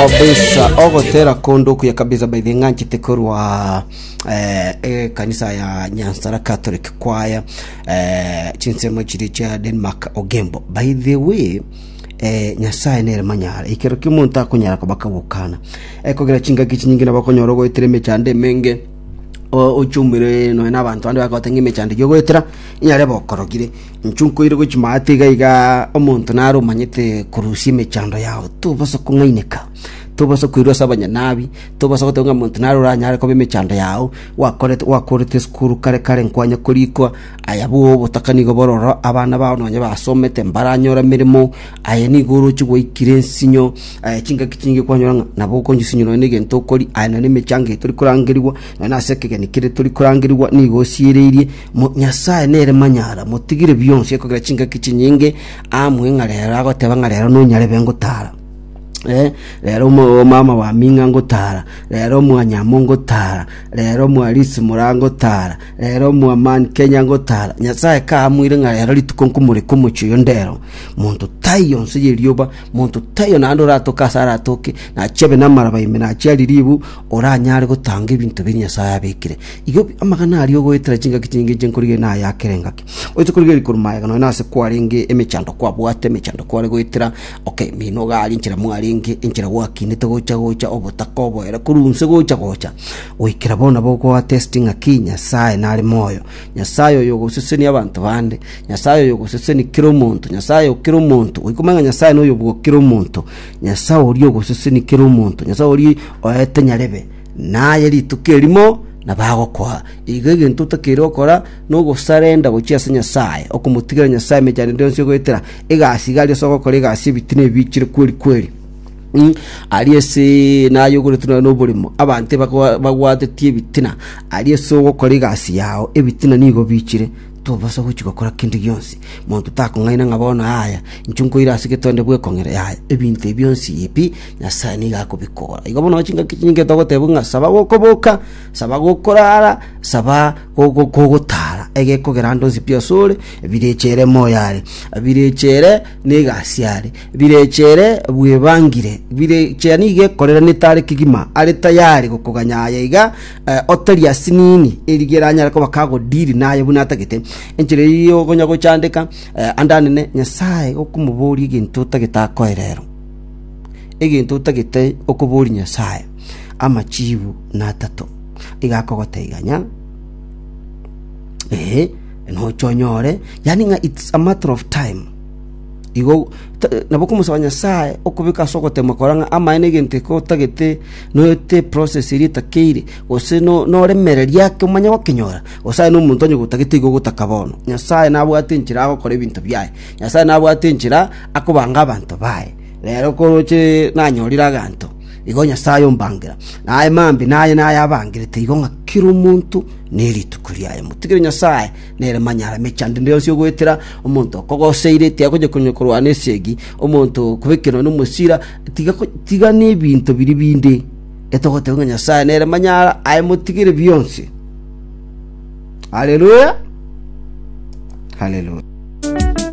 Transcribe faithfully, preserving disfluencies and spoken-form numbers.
Kabisa, ogotera kondo okuya kabisa. By the ng'anchete korwa eh, ekanisa ya Nyansara Catholic Choir, eh, chinsemo chiri chia Denmark Ogembo. By the way, eh, Nyasaye nere manyara ekero kia omonto akonyara koba kagokana ekogera chingaki chinyinge nabo okonyora ogoetera emechando emenge, ochumire nonya na abanto bande bagote ng'a emechando eywo ogoetera inyare bokorogire. Inchu nkoire gochia maate iga iga, omonto nare omanyete korusia emechando yao. Tobasa kong'aineka, tobasa koirwa ase abanyanabi, tobasa goteba ng'a monto nare oranyare koba emechando yao. Gwakorete, gwakorete esukuru kare kare, nkwanya korikwa aya bo obotaka nigo bororo, abana bao nonya basomete mbaranyora emeremo. Aye nigo oroche gwaikire ensinyo, chingaki chinyinge kwanyora ng'a nabo okonyusinywa nonya na egento okori aye, nonya na emechango eye tori korangerigwa, nonya na ase ekegeni kere tori korangerigwa, nigo osiereirie. Nyasaye nere manyara, motigire bionsi ekogera chingaki chinyinge amwe ng'a rero agoteba ng'a rero nonyarebe ngotara. Eh, rero omama wa ming'a ngotara, rero mwanyamo ngotara, rero mwarisi mora ngotara, rero mwaman Kenya ngotara. Nyasaye kaamwire ng'a rero rituko nkomoreka omochie oyo ndero, monto taiyo nse y'erioba, monto taiyo naende oratoke ase aratoke, nachie abe namaraba ime, nachie arie ribu, oranyare gotanga ebinto biria Nyasaye abekire. Igo amang'ana aria ogoetera chingaki chinyinge inche nkorigereria naye akere engaki. Oise korigereria korwa magega nonya nase kwarenge emechando kwabwate, emechando kware goetera. Okay, mino iga aria enchera mwarenge, enchera gwakinete gocha gocha obotaka oboere korwa inse gocha gocha goikera bono nabo okoa test ng'aki Nyasaye nare moyo. Nyasaye oyo ogosesenia abanto bande, Nyasaye oyo ogosesenia kera omonto, Nyasaye o kera omonto, goika omanye ng'a Nyasaye noyo bwa kera omonto, Nyasaye oria ogosesenia kera omonto, Nyasaye oria oete nyarebe, naye rituko erimo nabo agokoa. Igo egento otakeire gokora nogosarenda gochia ase Nyasaye, okomotigera Nyasaye emechando ende yonsi ogoetera, egasi iga aria ase ogokora egasi ebitina ebiichire kweri kweri. Mm, aria ase naye ogoretwe nonya noboremo, abanto ebakwa bagwatetie ebitina, aria ase ogokora egasi yao, ebitina nigo biichire, tobasa gochia gokora kende gionsi. Monto takong'aina ng'a bono yaya, inche nkoira ase getonde bwekong'era, yaya, ebinto ebi bionsi pi, Nyasaye nigo akobikora. Igo bono chingaki chinyinge togotebwa ng'a saba gokoboka, saba gokorara, saba kogotara, egekogera ande onsi pi asore, birecha ere moyo are, birecha ere negasi are, birecha ere bwebangire, birecha nigo ekoreranete are kegima, are tayari gokoganya aye iga, otari asinini, erige eranyare koba kagodiri naye buna atagete. Enchera eyio okonya gochandeka, ande anene, Nyasaye gokomoboria egento otagete akoe rero. Egento otagete okoboria Nyasaye, amachibu natato. Iga akogoteiganya, ee, noche onyore, yaani ng'a it's a matter of time. Igo ta- nabo okomosaba Nyasaye okobeka ase ogotemwa kora ng'a amaene egento eke otagete noete process eria etakeire, gose no noremereria ake omanye gokenyora, gose aye na omonto onye gotagete igo ogotaka bono. Nyasaye nabwate enchera agokora ebinto biaye, Nyasaye nabwate enchera akobanga abanto baye. Rero koroche nanyorire aganto, igo Nyasae ombangera, naye mambia naye nayabangerete igo ng'a kera omonto nerituko riaye. Motigere Nyasae, nere manyara emechando ende yonsi ogoetera, omonto okogoseire, tiga konya konya korwana esegi, omonto okobekerwa nomosira, tiga ko tiga nebinto biria binde etogoteba ng'a Nyasae nere manyara, aye motigere bionsi. Haleluya! Haleluya!